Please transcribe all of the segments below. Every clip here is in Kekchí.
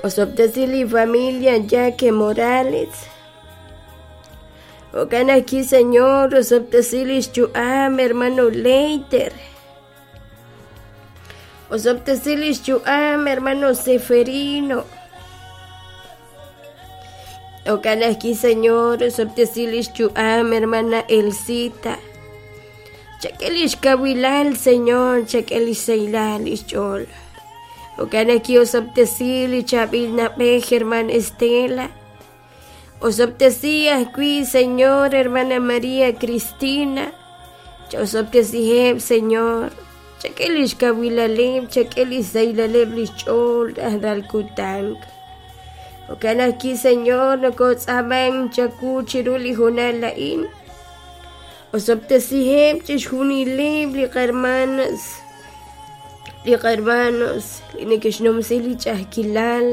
Osob'tesi li familia Yaque Morales. Jo'kan ajwi', Señor, osob'tesi lix yu'am hermano Leiter. Osob'tesi lix yu'am hermano Seferino. Jo'kan ajwi', Señor, osob'tesi lix yu'am hermana Elcita. Chak'e lix kawilal, Señor, chak'e lix sahilal lix ch'ool. Jo'kan ajwi' osob'tesi li chaab'il na'b'ej hermana Estela. Osob'tesi ajwi', Señor, hermana María Cristina. Cha'osob'tesiheb', Señor. Chak'e lix kawilaleb', chak'e lix sahilaleb' lix ch'ool rajlal kutan. Jo'kan ajwi', Señor, nokotz'aaman chawu chiru li hoonal a'in. Osob'tesiheb' chixjunileb' li qahermanas, li qahermanos li neke'xnumsi li ch'a'ajkilal,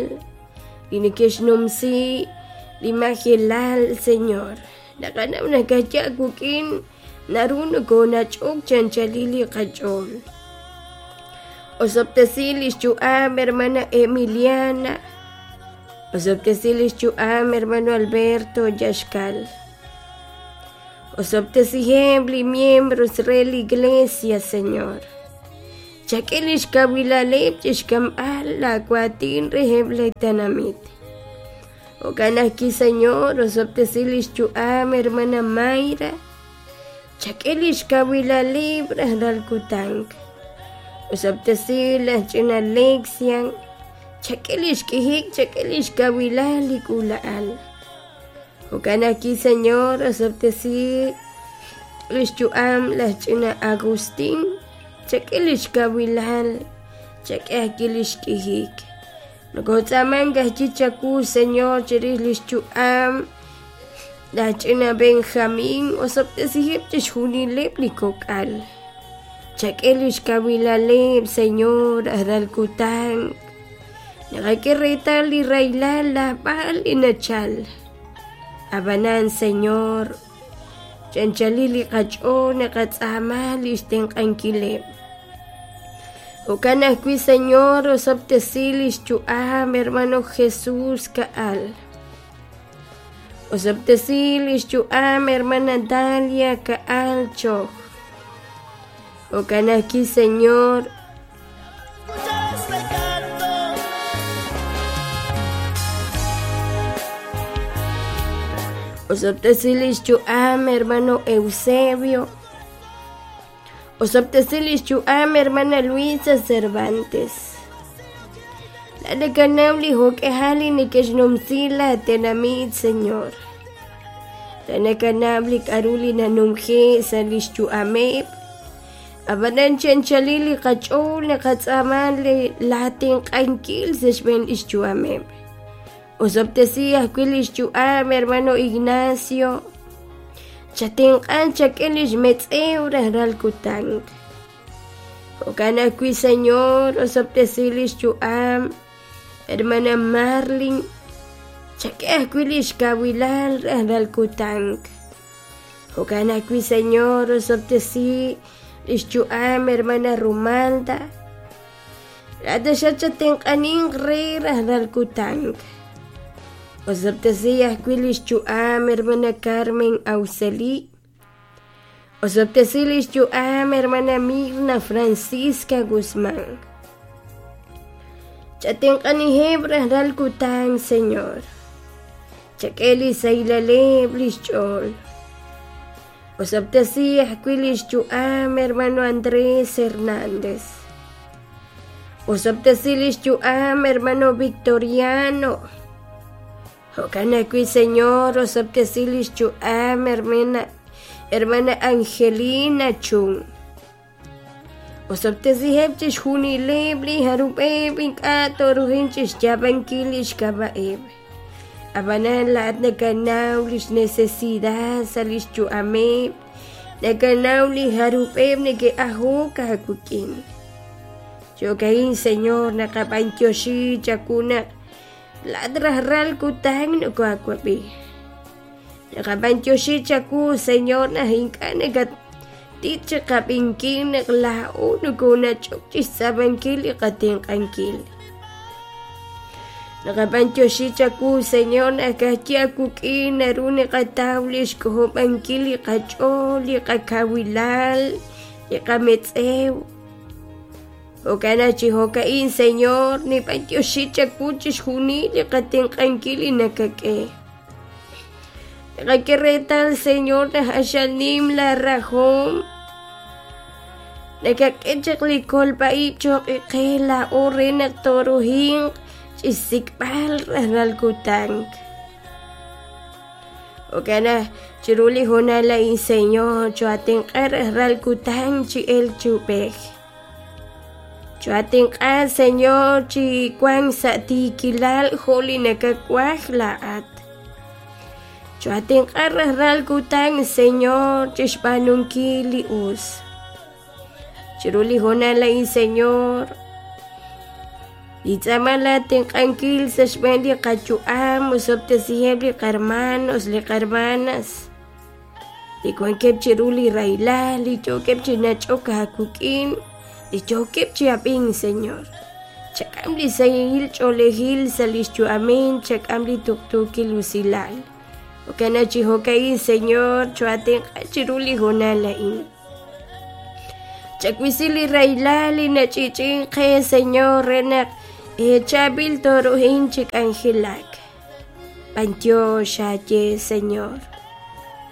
li neke'xnumsi li majelal, Señor. Naqanaw naq kaya' wik'in naru nokonach'ok chi anchalil li qach'ool. Osob'tesi lix yu'am hermana Emiliana. Osob'tesi lix yu'am hermano Alberto Yaxcal. Osob'tesiheb' li miembros re li iglesia, Señor. Chak'e lix kawilaleb' chixk'amb'al laa waatin reheb' li tenamit. Jo'kan ajwi', Señor, osob'tesi lix yu'am hermana Mayra. Chak'e lix kawilaleb' rajlal kutan. Osob'tesi laj ch'ina Lexian. Chak'e lix k'ijik, chak'e lix kawilal li k'uula'al. Jo'kan ajwi', Señor, osob'tesi lix yu'am laj ch'ina Agustín. Chak'e lix kawilal, chak'e ajwi' lix k'ijik. Nokotz'aamank ajwi' chawu, Señor, chirix lix yu'am laj ch'ina Benjamín. Osob'tesiheb' chixjunileb' li kok'al. Chak'e lix kawilaleb', Señor, rajlal kutan. Naqak'e reetal li rahilal lajb'al li nachal. Ab'anan, Señor, chanchalil li qach'ool naqatz'aama lix tenq'ankileb'. Jo'kan ajwi', Señor, osob'tesi lix yu'am hermano Jesús Ka'al. Osob'tesi lix yu'am hermana Dalia Ka'al Choj. Jo'kan ajwi', Señor, Escuchar este canto. Osob'tesi lix yu'am hermano Eusebio. Osob'tesi lix yu'am hermana Luisa Cervantes. La nakanaw li jo'k'ejal li neke'xnumsi la tenamit, Señor. La nakanaw li k'a'ru li nanumje' sa' lix yu'ameb'. Ab'anan chi anchalil li qach'ool naqatz'aama li laatenq'ankil sa' xb'een lix yu'ameb'. Osob'tesi ajwi' lix yu'am hermano Ignacio. Chatenq'an chak'e lix metz'ew rajlal kutan. Jo'kan ajwi', Señor, osob'tesi lix yu'am hermana Marlin. Chak'e ajwi' lix kawilal rajlal kutan. Jo'kan ajwi', Señor, osob'tesi lix yu'am hermana Rumalda. Laat chatenq'aninq re rajlal kutan. Osob'tesi ajwi' lix yu'am hermana Carmen Auxeli. Osob'tesi lix yu'am hermana Mirna Francisca Guzmán. Chatenq'aniheb' rajlal kutan, Señor. Chak'e li sahilaleb' lix ch'ool. Osob'tesi ajwi' lix yu'am hermano Andrés Hernández. Osob'tesi lix yu'am hermano Victoriano. Jo'kan ajwi', Señor, osob'tesi lix yu'am hermana Angelina Chung. Osob'tesiheb' chixjunileb' li jarub'eb' ink'a' toruhin chixyaab'ankil lix k'ab'a'eb'. Ab'anan laat nakanaw lix necesidad sa' lix yu'ameb', nakanaw li jarub'eb' neke'ajok aawik'in. Jo'ka'in, Señor, naqab'antioxi chawu naq laat rajlal kutan nokoaawab'i. Naqab'antioxi chawu, Señor, naq ink'a' nakatit chiqab'inkil naq laa'o nokonach'ok chixtz'aab'ankil li qatenq'ankil. Naqab'antioxi chawu, Señor, naq ka'ajwi' aawik'in naru naqataw li xk'ojob'ankil li qach'ool, li qakawilal, li qametz'ew. Jo'kan naq chi jo'ka'in, Señor, nib'antioxi chawu chixjunil li qatenq'ankil li nakak'e. Naqak'e reetal, Señor, naq q'axal nim laarahom. Nakak'e chaq li kolb'a-ib' choq' qe laa'o re naq tooruhinq chixsik'b'al rajlal kutan. Jo'kan naq chiru li hoonal a'in, Señor, choo'atenq'a rajlal kutan chi elk chi ub'ej. Choo'atenq'a, Señor, chi wank sa' tiikilal jo' li nakawaj laa'at. Choo'atenq'a rajlal kutan, Señor, chixb'aanunkil li us. Chiru li hoonal a'in, Señor, nintz'aama laa tenq'ankil sa' xb'een li qayu'am, osob'tesiheb' li qarmanos, li qarmanas, li wankeb' chiru li rahilal, li yookeb' chi nach'ok aawik'in, li yookeb' chi ab'ink, Señor. Chak'am li sahil ch'oolejil sa' lix yu'amil, chak'am li tuqtuukil usilal. Jo'kan naq chi jo'ka'in, Señor, choo'atenq'a chiru li hoonal a'in. Chawisi li rahilal li nach'i'ch'i'ink qe, Señor, re naq chaab'il tooruhin chi k'anjelak. B'antiox aaye, Señor.